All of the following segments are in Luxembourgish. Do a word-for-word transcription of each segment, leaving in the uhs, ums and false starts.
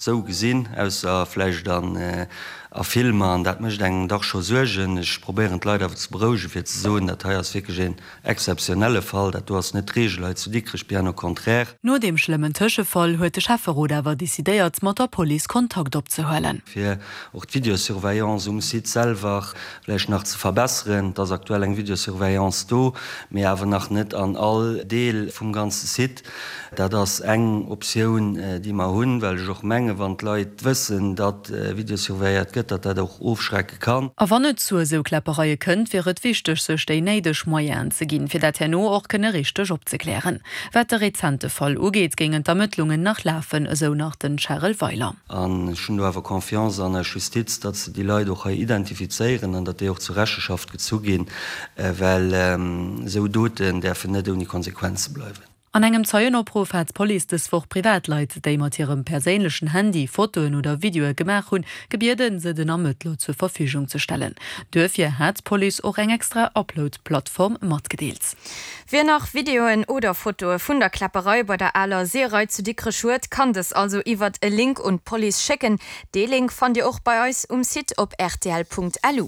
sou gesinn, ausser vläicht an a Filmer, an dat mécht engem dach scho Suergen. Ech probéieren d'Leit awer ze berouegen, fir ze soen, dat hei ass wierklech een exzeptionelle Fall, dat do ass net d'Reegel hei zu Dikrech, bien au contraire. No deem schlëmmen Tëschefall huet de Schäfferot awer decidéiert, mat der Police Kontakt opzehuelen. Fir och d'Videosurveillance um Site selwer vläicht nach ze verbesseren. Et ass aktuell eng Videosurveillance do, mee awer nach net an all Deel vum ganze Site. Dat ass eng Optioun, déi mer hunn, well ech och mengen, wann d'Leit wëssen, datt videosurveilléiert gëtt, datt dat och ofschrecke kann. A wann et zu esou Kläppereie kënnt, wier et wichteg, sech déi néideg Moyenen ze ginn, fir dat herno och kënne richteg opzeklären. Wat de rezente Fall ugeet, géingen d'Ermëttlungen nach lafen, esou nach den Charel Weiler. An ech hunn do awer Confiance an eis Justiz, datt se déi Leit och hei identifizéieren an datt déi och zur Recheschaft gezu ginn, well esou Doten däerfen net ouni Konsequenze bleiwen. An engem Zeienopruff hat d'Police dës Woch Privatleit, déi mat hirem perséinlechen Handy Fotoen oder Videoe gemaach hunn, gebieden, se den Ermëttler zur Verfügung ze stellen. Duerfir hat d'Police och eng extra Upload-Plattform matgedeelt. Wien nach Videoen oder Fotoe vun der Kläpperei bei der aler Seeërei zu Dikrech huet, kann dës also iwwert e Link un d'Police schécken. Dee Link fannt Dir och bei eis um Site op rtl.lu.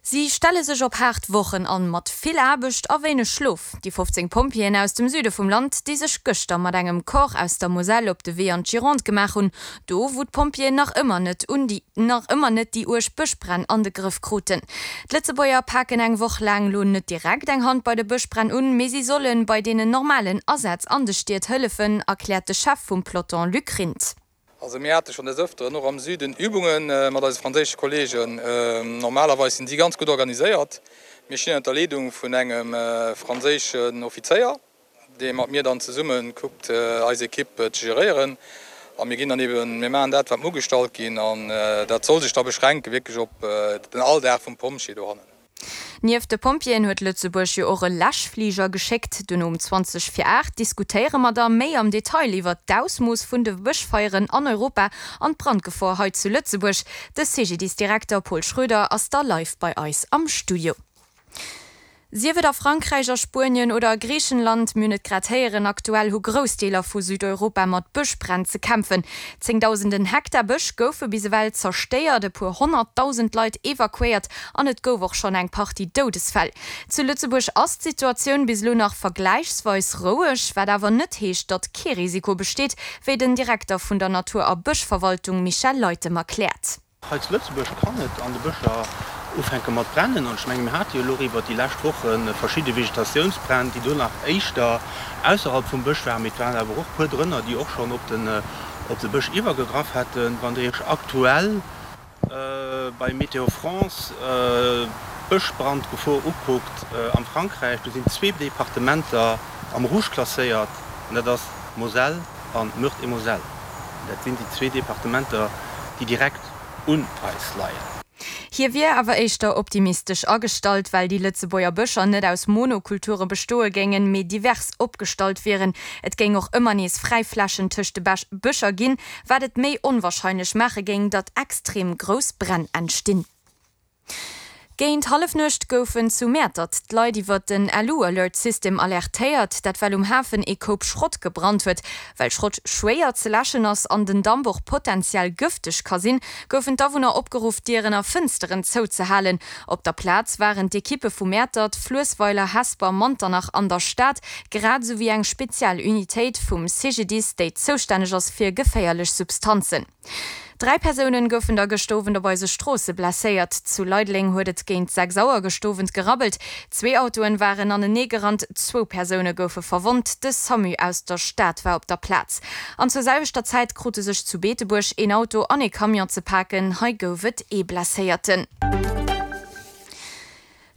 Si stelle sech op haart Wochen an, mat vill Aarbecht a wéineg Schlof. Déi fofzéng Pompjeeën aus dem Süde vum Land, déi sech gëschter mat engem Corps aus der Moselle op de Wee an d'Gironde gemaach hunn, do wou d'Pompjeeën nach ëmmer net un déi nach ëmmer net déi uerg Bëschbränn an de Grëff kruten. D'Lëtzebuerger paken eng Woch laang lo net direkt eng Hand bei de Bëschbränn un, mee si solle bei deenen normalen Asätz an de Stied hëllefen, erkläert de Chef vum Peloton Luc Rindt. Also mir hate schonn des Ëfteren och am Süden Übunge mat eise franséische Kolleegen. Normalerweis sinn si ganz gutt organiséiert. Mir stinn ënner der Leedung vun engem franséischen Offizéier, dee mat mir dann zesumme kuckt, eis Ekipp ze geréieren. A mir ginn dann eben, mir maachen dat, wat mir ugestallt ginn. An dat soll sech da beschränke wierklech op den Alldag vum Pompjee dohannen. Nieft de Pompjeeën huet Lëtzebuerg jo och e Läschfliger geschéckt. Duerno um zwanzeg vir aacht diskutéiere mer da méi am Detail iwwert d'Ausmooss vun de Bëschfeieren an Europa an d'Brandgefor hei zu Lëtzebuerg. De C G D I S-Direkter Paul Schroeder ass da live bei eis am Studio. Sief et a Frankräich, a Spuenien oder a Griichenland, mir hunn et grad héieren, aktuell hu grouss Deeler vu Südeuropa mat Bëschbränn ze kämpfen. Zéngdausenden Hektar Bësch goufe bis ewell zerstéiert, e puer honnertdausend Leit evakuéiert an et gouf och schonn eng Partie Doudesfäll. Zu Lëtzebuerg ass d'Situatioun bis elo nach vergläichsweis roueg, wat awer net heescht, datt kee Risiko besteet, wéi den Direkter vun der Natur a Bëschverwaltung Michel Leytem erkläert. Hei zu Lëtzebuerg kann et an de Bëscher ufänke mat brennen. An ech menge mir hate jo elo och iwwert déi lescht Woche verschidde Vegetatiounsbränn, déi do nach éischter ausserhalb vum Bësch waren, mee et waren awer och puer drënner, déi och schonn op den op de Bësch iwwergegraff hätten. Wann Der Iech aktuell bei Météo France d'Bëschbrandgefor ukuckt am Frankräich, do sinn zwee Departementer am Rouge klasséiert, an dat ass Moselle an Meurthe-et-Moselle. Dat sinn déi zwee Departementer, déi direkt un eis leien. Hie wier awer éischter optimistesch agestallt, well déi Lëtzebuerger Bëscher net aus Monokulture bestoe géingen, mee divers opgestallt wieren. Et géing och ëmmer nees fräi Flächen tëscht de Bëscher ginn, wat et méi onwarscheinlech maache géing, datt extrem grouss Bränn entstinn. Géint Hallefnuecht goufen zu Mäertert d'Leit iwwert den Lu-Alert-System alertéiert, dat well um Hafen ee Koup Schrott gebrannt huet. Well Schrott schwéier ze läschen ass an den Damp och potenziell gëfteg ka sinn, goufen d'Awunner opgeruff, Dieren a Fënsteren zouzehalen. Op der Plaz waren d'Ekippe vu Mäertert, Fluessweiler, Hesper, Manternach an der Stad, grad esou wéi eng speziell Unitéit vum C G D I S, déi zoustänneg ass fir geféierlech Substanzen. Dräi Persounen goufen da gëscht Owend op eise Stroosse blesséiert. Zu Leideleng huet et géint sechs Auer gëscht Owend gerabbelt. Zwee Autoen waren anenee gerannt, zwou Persoune goufe verwonnt. De Samu aus der Stad war op der Plaz. An zur selwechter Zäit krute sech zu Beetebuerg een Auto an ee Camion ze paken, hei gouf et ee Blesséierten.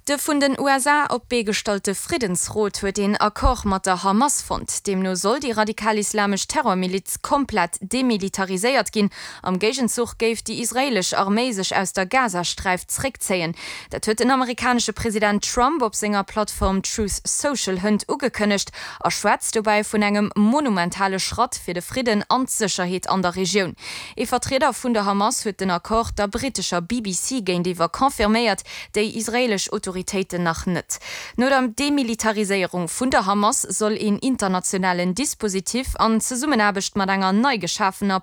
De vun den U S A op d'Bee gestallte Friddensrot huet een Accord mat der Hamas fonnt. Deemno soll déi radikal-islamesch Terrormiliz komplett demilitariséiert ginn. Am Géigenzuch géif déi israeelesch Arméi sech aus der Gazasträif zeréckzéien. Dat huet den amerikanesche President Trump op senger Plattform Truth Social hënt ugekënnegt a schwätzt dobäi vun engem monumentale Schratt fir de Fridden an d'Sécherheet an der Regioun. Ee Vertrieder vun der Hamas huet den Accord der brittescher B B C géintiwwer confirméiert, déi israeelesch Autoritéiten nach net. No der Demilitariséierung vun der Hamas soll een internationalen Dispositif an Zesummenaarbecht mat enger nei geschafener